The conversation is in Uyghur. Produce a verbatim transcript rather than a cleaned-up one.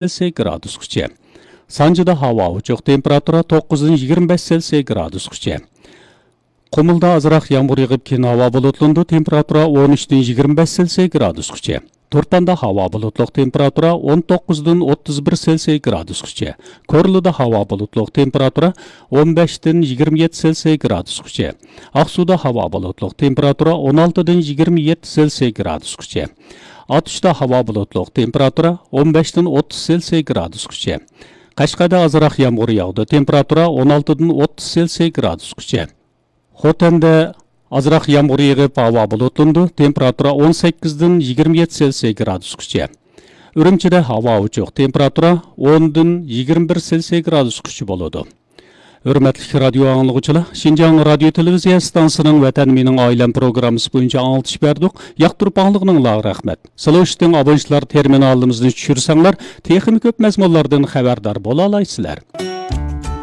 سېلسىيە گرادۇسقىچە. سانجىدا ھاۋا ئوچۇق، تېمپېراتۇرا توققۇزدىن يىگىرمە بەش سېلسىيە گرادۇسقىچە. قۇمۇلدا ئازراق يامغۇر يېغىپ، كېيىن ھاۋا بۇلۇتلىنىدۇ، تېمپېراتۇرا ئون ئۈچتىن يىگىرمە بەش سېلسىيە گرادۇسقىچە. تۇرپاندا ھاۋا بۇلۇتلۇق، تېمپېراتۇرا ئون توققۇزدىن ئوتتۇز بىر سېلسىيە گرادۇسقىچە. كورلىدا ھاۋا بۇلۇتلۇق، تېمپېراتۇرا ئون بەشتىن يىگىرمە يەتتە سېلسىيە گرادۇسقىچە. ئاقسۇدا ھاۋا بۇلۇتلۇق، تېمپېراتۇرا ئون ئالتىدىن يىگىرمە يەتتە سېلسىيە گرادۇسقىچە. ئاتۇشتا ھاۋا بۇلۇتلۇق، تېمپېراتۇرا ئون بەشتىن ئوتتۇز سېلسىيە گرادۇسقىچە. قەشقەردە ئازراق يامغۇر ياغدى، تېمپېراتۇرا ئون ئالتىدىن ئوتتۇز سېلسىيە گرادۇسقىچە. خوتەندە ئازراق يامغۇر يېغىپ، ھاۋا بۇلۇتلىنىدۇ، تېمپېراتۇرا ئون سەككىزدىن يىگىرمە يەتتە سېلسىيە گرادۇسقىچە. ئۈرۈمچىدە ھاۋا ئوچۇق، تېمپېراتۇرا ئوندىن يىگىرمە بىر سېلسىيە گرادۇسقىچە بولىدۇ. ھۆرمەتلىك رادىيو ئاڭلىغۇچىلار، شىنجاڭ رادىيو تېلېۋىزىيە ئىستانسىسىنىڭ ۋەتەن مېنىڭ ئائىلەم پروگراممىسى بويىچە ئاڭلىتىش بەردۇق. ياقتۇرۇپ ئاڭلىغىنىڭلارغا رەھمەت. سلوشىتىڭ ئابونېنتلار تېرمىنالىمىزنى چۈشۈرسەڭلار، تېخىمۇ كۆپ مەزمۇنلاردىن خەۋەردار بولالايسىلەر.